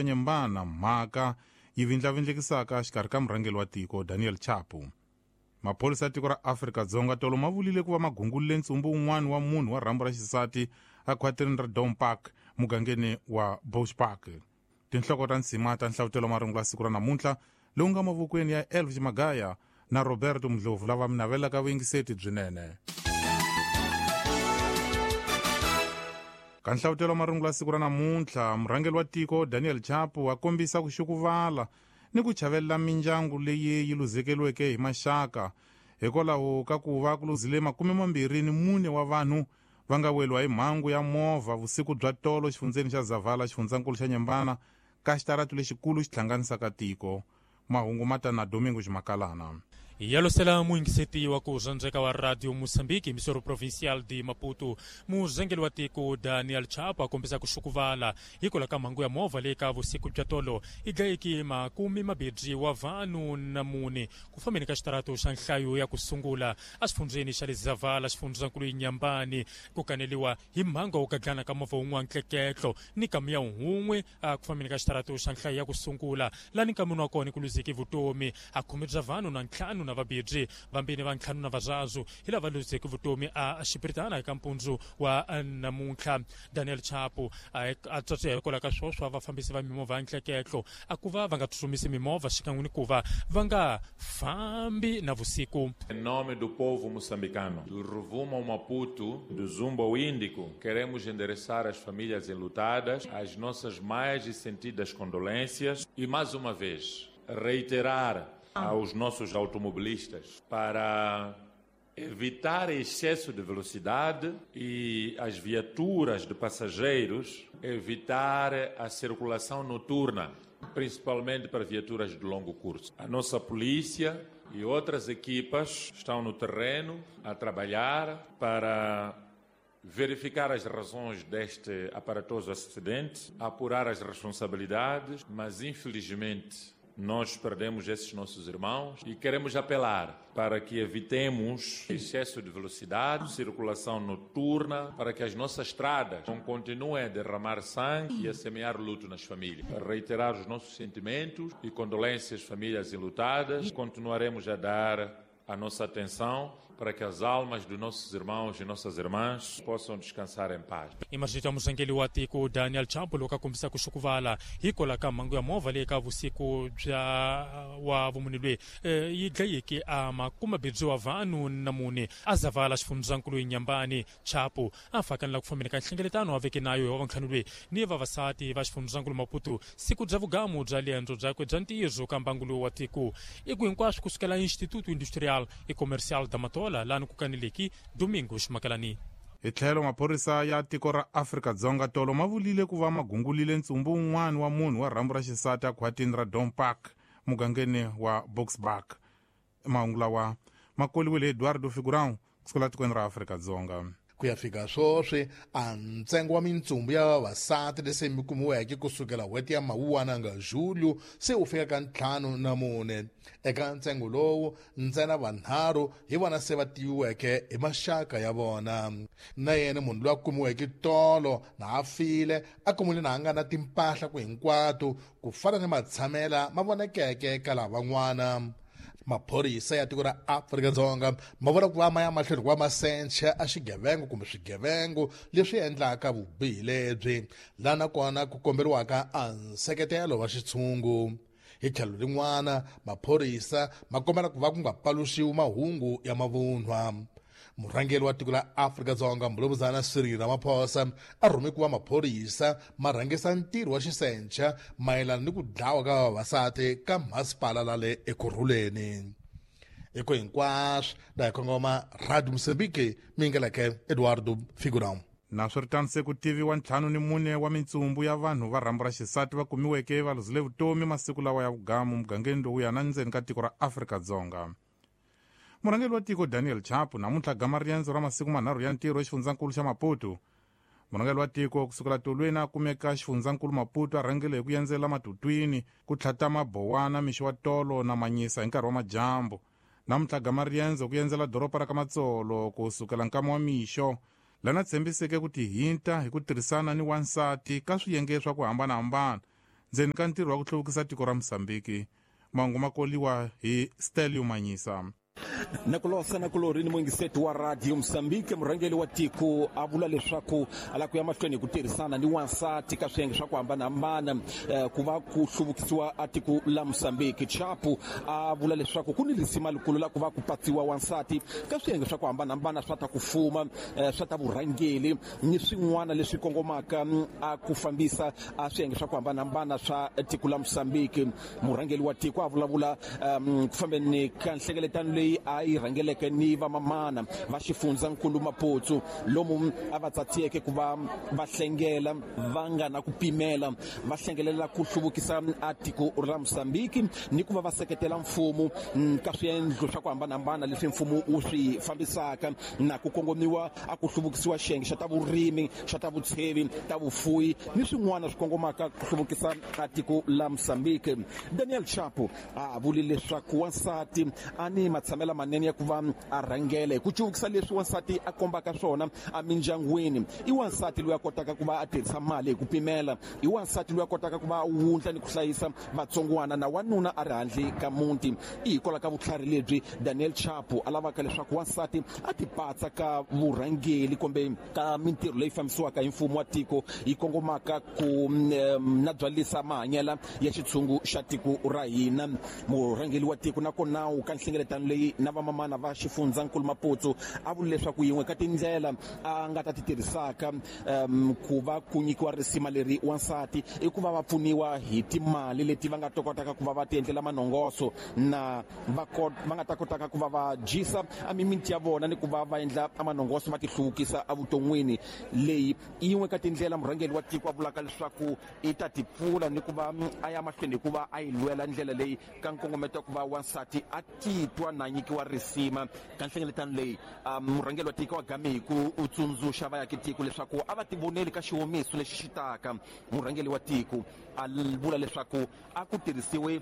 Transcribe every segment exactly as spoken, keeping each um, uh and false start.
Nyembana mhaka yi vindlavindlekisaka xikarhi ka murhangeri wa tiko Daniel Chapo. Maphorisa ya tiko ra Afrika-Dzonga tolo ma vulile ku va magungulile ntsumbu wun'wana wa munhu wa rhambu ra xisati ekhwatini ra Dome Park mugangeni wa Bush Park. Tinhloko ta nsima ta nhlavutelo marungulo ya siku ra namuntlha lowu nga mavokweni ya Elvis Magaya na Roberto Mdlovu lava mi navelaka vuyingiseti byinene. Ka nhlavutelo marungulo ya siku ra namuntlha, murhangeri wa tiko Daniel Chapo a kombisa ku xukuvala ni ku chavelela mindyangu leyi yi luzekeriweke hi maxaka hikwalaho ka ku va ku luzile makume mambirhi ni mune wa vanhu va nga weriwa hi mhangu ya movha vusiku bya tolo xifundzeni xa Zavala, xifundzankulu xa Nyembana, ka xitaratu lexikulu xi hlanganisaka tiko. Mahungu ma ta na Domingo Ximakalana. Yalosela muyingiseti wa ku rhandzeka wa Radio Mozambique, emissora provincial de Maputo. Murhangeri wa tiko Daniel Chapo a kombisa ku xukuvala hikwalaho ka mhangu ya movha leyi ka vusiku bya tolo yi dlayeke makume mambirhi wa vanhu na mune ku fambeni ka xitarato xa nhlayo ya ku sungula exifundzeni xa le Zavala, xifundzankulu Nyambani, ku kaneliwa hi mhangu wa ku gadlana ka movha wun'wana ntleketlo ni kamiya wun'we ku fambeni ka xitarato xa nhlayo ya ku sungula lani nkamini wa kona ku luzeke vutomi a khume bya vanhu na ntlhanu na vabirhi vambirhi va ntlhanu na vararu hi lava luzeke vutomi a xipiritana eka mpundzu wa namuntlha. Daniel Chapo a tswatswiya hikwalaho ka swoswa vafambisi va mimovha ya ntleketlo a ku va va nga tsutsumisi mimovha xikan'we ni ku va va nga fambi na vusiku. Em nome do povo moçambicano, do Rovuma ao Maputo, do Zumbo ao Índico, queremos endereçar às famílias enlutadas as nossas mais sentidas condolências e, mais uma vez, reiterar aos nossos automobilistas para evitar excesso de velocidade e as viaturas de passageiros evitar a circulação noturna, principalmente para viaturas de longo curso. A nossa polícia e outras equipas estão no terreno a trabalhar para verificar as razões deste aparatoso acidente, apurar as responsabilidades, mas infelizmente nós perdemos esses nossos irmãos e queremos apelar para que evitemos excesso de velocidade, circulação noturna, para que as nossas estradas não continuem a derramar sangue e a semear luto nas famílias. Para reiterar os nossos sentimentos e condolências às famílias enlutadas, continuaremos a dar a nossa atenção para que as almas dos nossos irmãos e nossas irmãs possam descansar em paz. Imagita murhangeri wa tiko Daniel Chapo loko a kombisa ku xukuvala hikwalaho ka mhangu ya movha leyi ka vusiku bya wa vumune loyi yi dlayeke a makume mambirhi wa vanhu na mune a Zavala, xifundzankulu Nyambani. Chapo a fakanela ku fambeni ka nhlengeletano a veke nayo hi wa vantlhanu loyi ni vavasati va xifundzankulu Maputo siku bya vugamu bya liendzo byakwe bya ntirho ka mbangu lowu wa tiko. I ku hinkwaswo kusukela Instituto Industrial e Comercial da Matola lani ku kaneleki Domingo Ximakalani. Hi tlhelo maphorisa ya tiko ra Afrika-Dzonga tolo ma vulile ku va magungulile ntsumbu wun'wana wa munhu wa rhambu ra xisati ekhwatini ra Dome Park mugangeni wa Boksburg. Mahungu lawa ma koliwile Eduardo Figurão kusukela tikweni ra Afrika-Dzonga. Ku ya fika sweswi a ntsengo wa mintsumbu ya vavasati lese mi kumiweke kusukela n'hweti ya Mawuwana nga Julho se wu fika ka ntlhanu na mune. Eka ntsengo lowu ntsena vanharhu hi vona se va tiviweke hi maxaka ya vona. Na yena munhu loyi a kumiweke tolo na a file a kumile na a nga na timpahla ku hinkwato ku fana ni matshamela ma vonekeke ka lavan'wana. Maphorisa ya tiko ra Afrika-Dzonga ma vona ku va ma ya mahlweni ku va ma sencha a xigevengo kumbe swigevengo leswi endlaka vubihi lebyi, laha nakona ku komberiwaka a nseketelo wa xitshungu. Hi tlhelo rin'wana maphorisa ma kombela ku va ku nga paluxiwi mahungu ya mavunwa. Murhangeri wa tiko la Afrika-Dzonga Mbulumuzana Cyril Ramaphosa a rhume ku va maphorisa ma rhangisa ntirho wa xisencha mayelana ni ku dlawa ka vavasati ka masipala la le Ekurhuleni. Eko hinkwaswo la hi kongoma Radio Mozambique mingeleke Eduardo Figurão. Naswiritano se ku tiviwa ntlhanu ni mune wa mintsumbu ya vanhu va rhambu ra xisati va kumiweke va luzile vutomi masiku lawa ya vugamu mugangeni lowu ya na ndzeni ka tiko ra Afrika-Dzonga. Murhangeri wa tiko Daniel Chapo namuntlha gama riendzo ra masiku manharhu ya ntirho exifundzankulu xa Maputo. Murhangeri wa tiko kusukela tolweni a kumeka xifundzankulu Maputo a rhangele hi ku endzela Matutwini ku tlhata Mabowana mixo wa tolo na Manyisa hi nkarhi wa madyambu. Namuntlha gama riendzo ku endzela doroba ra ka Matsolo kusukela nkama wa mixo lana tshembiseke ku tihinta hi ku tirhisana ni wansati ka swiyenge swa ku hambanahambana ndzeni ka ntirho wa ku hluvukisa tiko ra Mozambique. Mahungu ma koliwa hi Stelio Manyisa. Nakulosa nakulori ni muingiseti wa Radio Mozambique, murhangeri wa tiko a vula leswaku a lava ku ya mahlweni hi ku tirhisana ni wansati ka swiyenge swa ku hambanahambana ku va ku hluvukisiwa a tiko la Mozambique. Chapo a vula leswaku ku ni risima likulu la ku va ku patsiwa wansati ka swiyenge swa ku hambanahambana swa ta ku fuma, swa ta vurhangeri ni swin'wana leswi kongomaka a ku fambisa a swiyenge swa ku hambanahambana swa tiko la Mozambique. Murhangeri wa tiko a vulavula ku fambeni ka nhlengeletano leyi a yi rhangeleke ni vamamana va xifundzankulu Maputo, lomu a va tsatsiyeke ku va va hlengela va nga na ku pimela, va hlengelela ku hluvukisa a tiko ra Mozambique ni ku va va seketela mfumo ka swiendlo swa ku hambanahambana leswi mfumo wu swi fambisaka na ku kongomiwa a ku hluvukisiwa xiyenge xa ta vurimi, xa ta vutshevi, ta vufuwi ni swin'wana swi kongomaka ku hluvukisa a tiko la Mozambique. Daniel Chapo a vule leswaku wansati a ni matshamela manene ya ku va a rhangela hi ku cuvukisa leswi wansati a kombaka swona emindyangwini. I wansati loyi a kotaka ku va a tirhisa mali hi ku pimela, i wansati loyi a kotaka ku va a wundla ni ku hlayisa vatsongwana na wanuna a ri handle ka muti. I hikwalaho ka vutlhari lebyi Daniel Chapo a lavaka leswaku wansati a tipatsa ka vurhangeri kumbe ka mintirho leyi fambisiwaka hi mfumo wa tiko yi kongomaka ku na byalisa mahanyela ya xitshungu xa tiko ra hina. Murhangeri wa tiko nakona u ka nhlengeletano leyi na vamamana va xifundzankulu Maputo a vula leswaku yin'we ka tindlela a nga ta ti tirhisaka um, ku va ku nyikiwa risima leri wansati i ku va va pfuniwa hi timali leti va nga ta kotaka ku va va ti endlela manongoso na va va nga ta kotaka ku va va dyisa a mimiti ya vona ni ku va va endla manongoso va ti hluvukisa evuton'wini. Leyi i yin'we ka tindlela murhangeri wa tiko a vulaka leswaku i ta ti pfula ni ku va a ya mahlweni hikuva a yi lwela ndlela leyi ka nkongometo wa ku va wansati a titwa na nyikiwa risima. Ka nhlengeletano leyi murhangeri wa tiko wa game hi ku u tsundzuxa vaakatiko leswaku a va tivoneli ka xiwomiso lexi xi taka. Murhangeri wa tiko a vula leswaku a ku tirhisiwe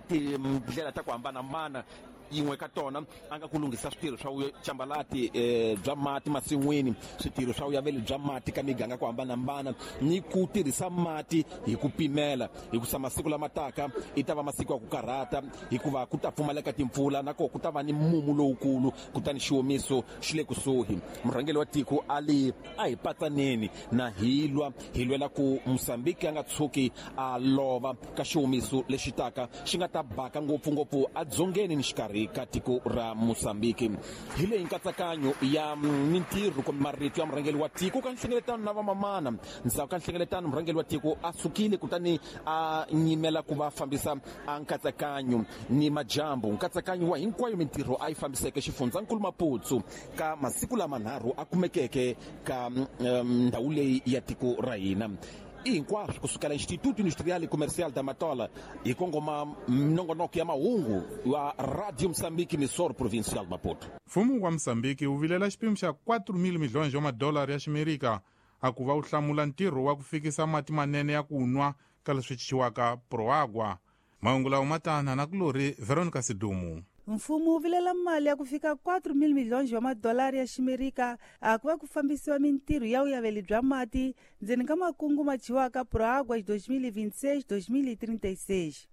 tindlela ta ku hambanahambana, yin'we ka tona a nga ku lunghisa switirho swa cambalati bya mati masin'wini, switirho swa vuyaveli bya mati ka miganga ku hambanahambana ni ku tirhisa mati hi ku pimela, hikusa masiku lama taka i ta va masiku ya ku karhata hikuva ku ta pfumaleka timpfula na koho ku ta va ni mumu lowukulu, kutani xiwomiso xi le kusuhi. Murhangeri wa tiko a li a hi patsaneni na hi lwa hi lwela ku Mozambique a nga tshuki a lova ka xiwomiso lexi taka xi nga ta baka ngopfungopfu edzongeni ni xikarhi ka tiko ra Mozambique. Hi leyi nkatsakanyo ya mintirho kumbe marito ya murhangeri wa tiko ka nhlengeletano na vamamana. Ndzhaku ka nhlengeletano murhangeri wa tiko a sukile kutani a nyimela ku va fambisa a nkatsakanyo ni majambu, nkatsakanyo wa hinkwayo mintirho a yi fambiseke xifundzankulu Maputo ka masiku lamanharhu a kumekeke ka ndhawu leyi ya tiko ra hina. I hinkwaswo kusukela Instituto Industrial e Comercial da Matola hi kongoma minongonoko ya mahungu wa Radio Mozambique, Missor Provincial Maputo. Mfumo wa Mozambique wu vilela xipimo xa quatro mil milhões wa madolari ya ximerika a ku va wu hlamula ntirho wa ku fikisa mati manene ya ku nwa ka leswi chichiwaka Proagua. Mahungu lawa ma tana na kulori Veronica Sidumu. Mfumo wu vilela mali ya ku fika quatro mil milhões wa madolari ya ximerika a ku va ku fambisiwa mintirho ya vuyaveli bya mati ndzeni ka makungu ma dyiwaka Proagua dois mil e vinte e seis dois mil e trinta e seis.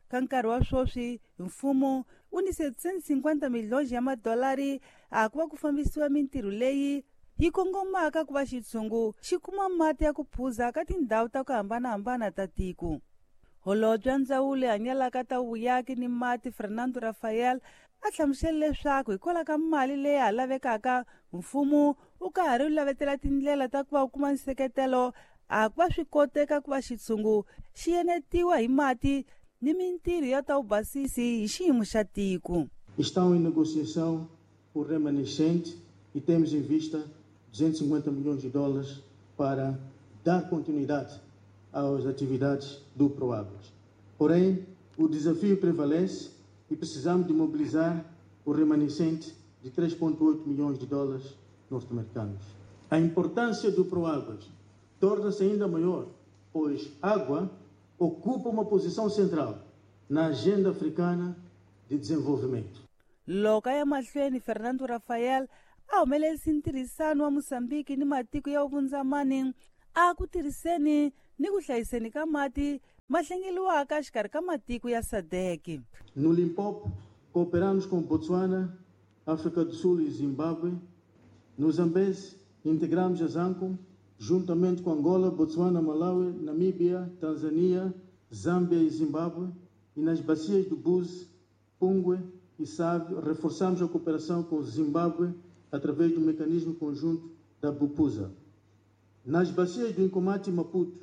Ka nkarhi wa sweswi mfumo wu ni setecentos e cinquenta milhões ya madolari a ku va ku fambisiwa mintirho leyi yi kongomaka ku va xitshungu xi kuma mati ya ku phuza ka tindhawu ta ku hambanahambana ta tiko. Holobye wa ndzawulo hanyalaka ta vuyaki ni mati Fernando Rafael a hlamusela leswaku hikwalaho ka mali leyi ha lavekaka mfumo wu ka ha ri lavetela tindlela ta ku va wu kuma nseketelo a ku va swi koteka ku va xitshungu xi enetiwa hi mati ni mintirho ya ta vubasisi hi xiyimo xa tiko. Estão em negociação o remanescente e temos em vista duzentos e cinquenta milhões de dólares para dar continuidade às atividades do Proáguas. Porém, o desafio prevalece e precisamos de mobilizar o remanescente de três vírgula oito milhões de dólares norte-americanos. A importância do Proáguas torna-se ainda maior, pois água ocupa uma posição central na agenda africana de desenvolvimento. Loko a ya mahlweni Fernando Rafael a humelerisa ntirhisano wa Mozambique ni matiko ya vundzamani a ku tirhiseni ni ku hlayiseni ka mati ma hlengeliwaka exikarhi ka matiko ya SADC. No Limpopo, cooperamos com Botswana, África do Sul e Zimbábue. No Zambeze, integramos a ZAMCOM, juntamente com Angola, Botswana, Malawi, Namíbia, Tanzânia, Zâmbia e Zimbábue. E nas bacias do Búzi, Pungwe e Save, reforçamos a cooperação com o Zimbábue através do mecanismo conjunto da BUPUSA. Nas bacias do Inkomati e Maputo,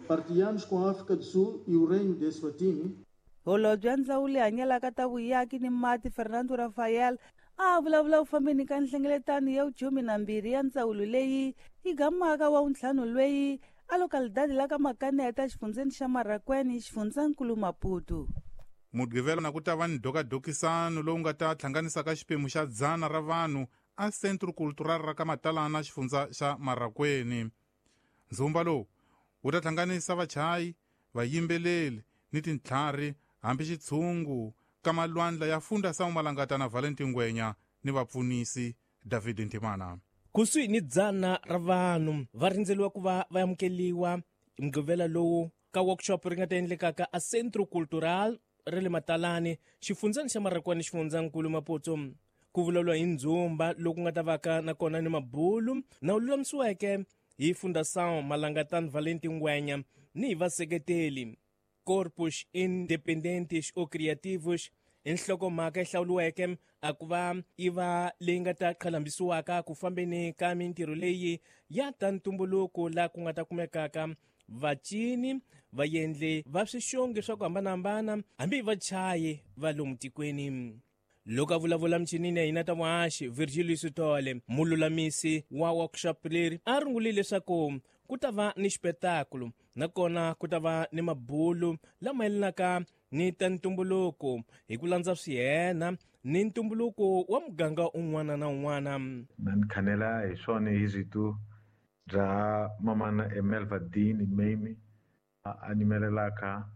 partilhamos com a África do Sul e o Reino de Eswatini. Holobye wa Ndzawulo leyi hanyelaka ta vuyaki ni mati Fernando Rafael a vulavula ku fambeni ka nhlengeletano ya vukhume na mbirhi ya ndzawulo leyi yi gamaka wa vuntlhanu lweyi a localidade la ka Makaneta xifundzeni xa Marracuene xifundzankulu Maputo. Mugqivela na ku ta va ni dokadokisano lowu nga ta hlanganisaka xiphemu xa dzana ra vanhu a Centro Cultural ra ka Matalana xifundza xa Marracuene. Ndzumba lowu wu ta hlanganisa vachayi, vayimbeleri ni tintlhari hambi xitshungu ka malwandla ya Fundação Malangata na Valentin Ngwenya ni vapfunisi David Ntimana. Kusuhi ni dzana ra vanhu va rindzeliwa ku va va amukeliwa mugqivela lowu ka workshop ri nga ta endlekaka a Centro Cultural ra le Matalani xifundzani xa Marracuene xifundzankulu Maputo. Ku vulavuriwa hi ndzumba loku nga ta vaka nakona ni mabulu na wu lulamisiweke hi Fundação Malangatan Valentin Ngwenya ni hi vaseketeli Corpus Independentes ou Criativos. Nhlokomhaka yi hlawuriweke a ku va yi va leyi nga ta qhalambisiwaka ku fambeni ka mintirho leyi ya ta ntumbuluko laha ku nga ta kumekaka vacini, vaendli va swixongi swa ku hambanahambana hambi vachayi va lomu tikweni. Loko a vulavula michinini ya hina ta vuhaxi Virgilio Sithole, mululamisi wa workshop leri, a rungulile leswaku ku ta va ni xipetakulo nakona ku ta va ni mabulu lama yelanaka ni ta ntumbuluko hi ku landza swiyena ni ntumbuluko wa muganga un'wana na un'wana. Na ni khanela hi swona hi rito bya mamana Emelva Dean Mame a nimelelaka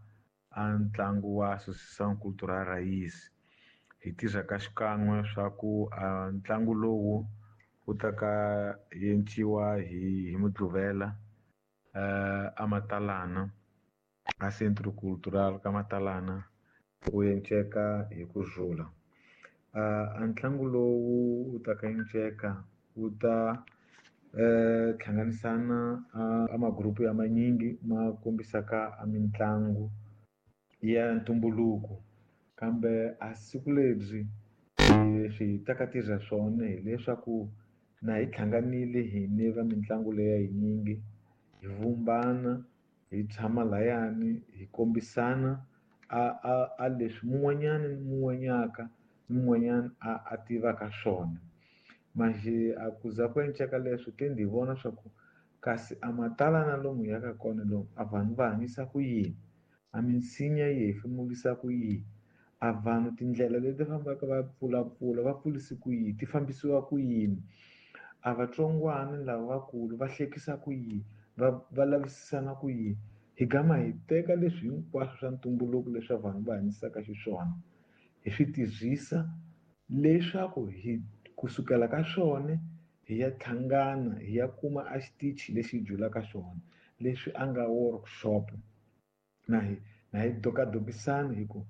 a ntlangu wa Associação Cultural Raiz. Hi tirha ka xikan'we swa ku a ntlangu lowu wu ta ka enciwa hi hi Mugqivela a Matalana a Centro Cultural ka Matalana wu enceka hi ku rhula. A ntlangu lowu wu ta ka enceka wu ta hlanganisana a magrupu ya manyingi ma kombisaka a mitlangu ya ntumbuluko. Kambe a siku lebyi leswi hi ta ka tirha swona hileswaku na hi hlanganile hina va mitlangu leya yinyingi hi vumbana hi tshama layani hi kombisana a a a leswi mun'wanyana ni mun'wanyaka ni mun'wanyana a a tivaka swona. Manje a ku za ku enceka leswi te ndzi vona swa ku kasi a Matalana lomu hi yaka kona lomu a vanhu va hanyisa ku yini, a minsinya yi hefemurisa ku yini, a vanhu tindlela leti fambaka va pfulapfula va pfulisi ku yini, ti fambisiwa ku yini, a vatsongwana lava vakulu va hlekisa ku yini, va va lavisisana ku yini. Hi gama hi teka leswi hinkwaswo swa ntumbuluko leswi vanhu va hanyisaka xiswona hi swi tirhisa leswaku hi kusukela ka swona hi ya hlangana hi ya kuma a xitichi lexi hi dyulaka xona leswi a nga workshop na hi na hi dokadokisana hi ku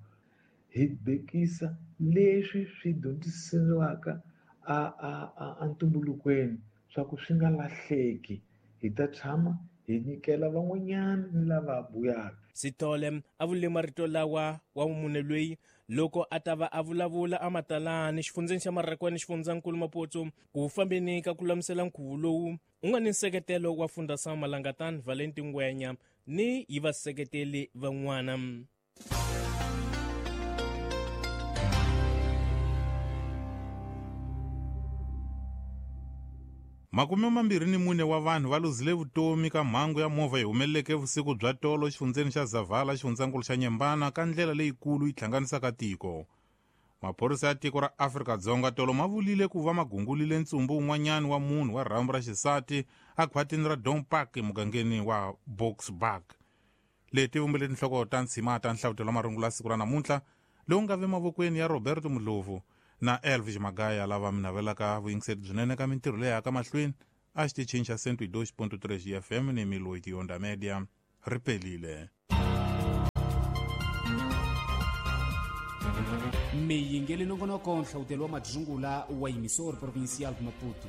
hi bekisa leswi swi dyondzisiwaka a a a ntumbulukweni swa ku swi nga lahleki. Hi ta tshama hi nyikela van'wanyana ni lava buyaka. Sithole a vule marito lawa wa mune loyi loko a ta va a vulavula a Matalani xifundzeni xa Marracuene xifundzankulu Maputo ku fambeni ka ku lulamisela nkhuvo lowu u nga ni nseketelo wa Fundação Malangatan Valentin Ngwenya ni hi vaseketeli van'wana. Makume mambirhi ni mune wa vanhu va luzile vutomi ka mhangu ya movha yi humeleleke vusiku bya tolo xifundzeni xa Zavala xifundzankulu xa Nyembana ka ndlela leyikulu yi hlanganisaka tiko. Maphorisa ya tiko ra Afrika-Dzonga tolo ma vulile ku va magungulile ntsumbu wun'wanyana wa munhu wa rhambu ra xisati a khwatini ra Dome Park emugangeni wa Boksburg. Leti vumbile tinhloko ta ntshima ta nhlavutelo wa marungula ya siku ra namuntlha lowu nga ve mavokweni ya Roberto Mudlovu na Elvis Magaya lava mi navelaka vuyingiseri byinene ka mintirho leyi yaka mahlweni a xitichini xa cento e dois ponto três F M ni Miloiti Onda Media. Ri pelile. Miyingeli nongonoko nhlawutelo wa madzungula wa Emissor Provincial de Maputo.